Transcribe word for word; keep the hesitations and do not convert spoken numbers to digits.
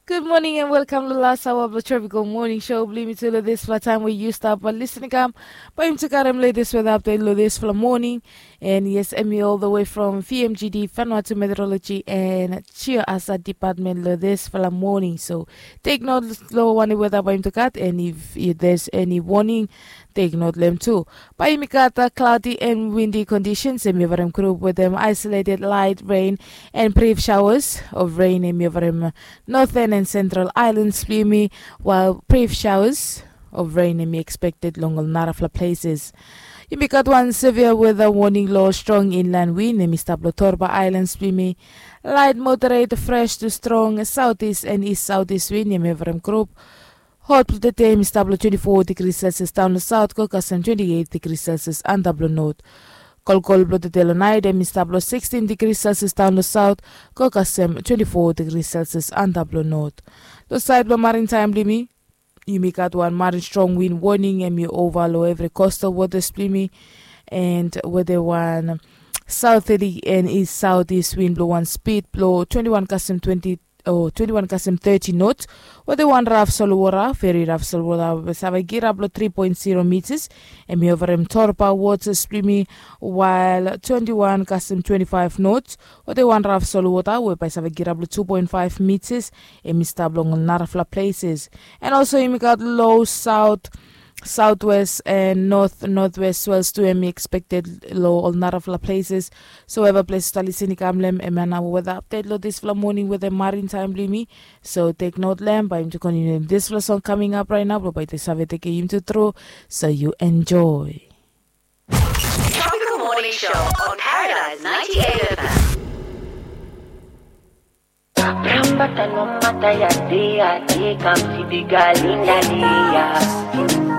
Gud moning and welkam long las aoa blong Tropical Morning Show blong yumi tu long dispela taim we yu stap lisin i kam. Bai yumi tu karem latest weather update long dispela moning. And yes, em i all the way from V M G D, Vanuatu Meteorology and Geohazard Department long dispela moning. So take note long wanem weather bai yumi tu gat, and if there's any warning, take note long em tu. Bai yumi gat cloudy and windy conditions, em i ovarim group with them isolated light rain and brief showers of rain, em i ovarim northern and central islands blong yumi, while brief showers of rain em i expected long ol narafala places. Yumi gat wan severe weather warning long strong inland wind, em i stap long Torba Islands blong yumi. Light moderate fresh to strong southeast and east southeast wind, em i ovarim group. Hot blong tede em i stap long twenty-four degrees Celsius daun long south go kasem twenty-eight degrees Celsius antap long north. Kolkol blong tede long nait em i stap long sixteen degrees Celsius daun long south go kasem twenty-four degrees Celsius antap long north. Long sait blong marin taim blong yumi, yumi gat wan marin strong wind warning, em i ova long evri coastal waters blong yumi, and wetem wan southeast and east southeast wind blong wan speed blong twenty-one kasem twenty o twenty-one kasem thirty knots, wetem wan raf solwota, very raf solwota we save kirap long three point zero meters, em i ovarim Torba waters blong yumi, while twenty-one kasem twenty-five knots, wetem wan raf solwota we bai save kirap long two point five meters, em i stap long ol narafala places. And also yumi gat low south, southwest and north northwest swells tu, em i expected long ol narafala places. So wherever places yu stap lisin i kam long em, em ya nao weather update long dispela moning wetem marin taim blong yumi. So take note long em, bai yumi tu kontiniu dispela song coming up right now, blong bai tu save tekem yumi tu tru. So you enjoy. Tropical Morning Show on Paradise ninety-eight F M. Rambata no mata ya dia dia kam si biga linda dia.